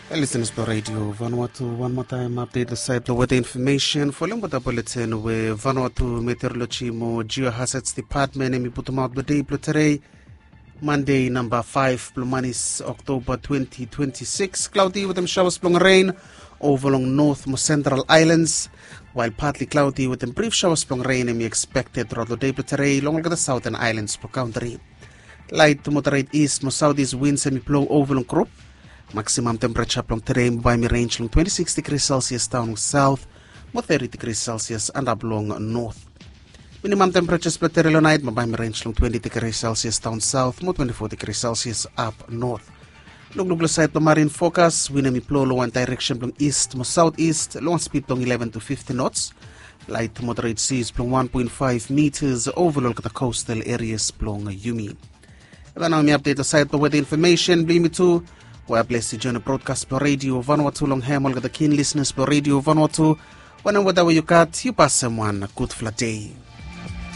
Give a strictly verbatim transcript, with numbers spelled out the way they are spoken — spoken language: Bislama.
Listeners blong Radio Vanuatu, wan moa taem update long sait blong weather information. Folem weather bulletin we Vanuatu Meteorology mo Geohazards Department hemi putumaot blong dei blong tedei, Monday, namba five blong manis, October twenty twenty-six. Cloudy wetem showers blong rain over long North mo Central Islands, while partly cloudy wetem brief showers blong rain hemi expected throughout long dei blong tedei long olgeta Southern Islands blong country. Light to moderate east mo southeast winds hemi blow over long group. Maximum temperature blong tedei mo bae hemi range long twenty-six degrees Celsius daon long south mo thirty degrees Celsius antap long north. Minimum temperatures blong tedei long nait mo bae hemi range long twenty degrees Celsius daon south mo twenty-four degrees Celsius up north. Lukluk long sait blong marine forecast, wind hemi blow long wan direction blong east mo southeast long wan speed blong eleven to fifteen knots. Light moderate seas blong one point five meters over long olgeta coastal areas blong yumi. Hemia nao hemi update long sait blong weather information blong yumi tu. Wea blesi join long broadcast blong Radio Vanuatu long hem olgeta keen listeners blong Radio Vanuatu. Wanem weather we yu gat, yu pasem wan gudfala dei.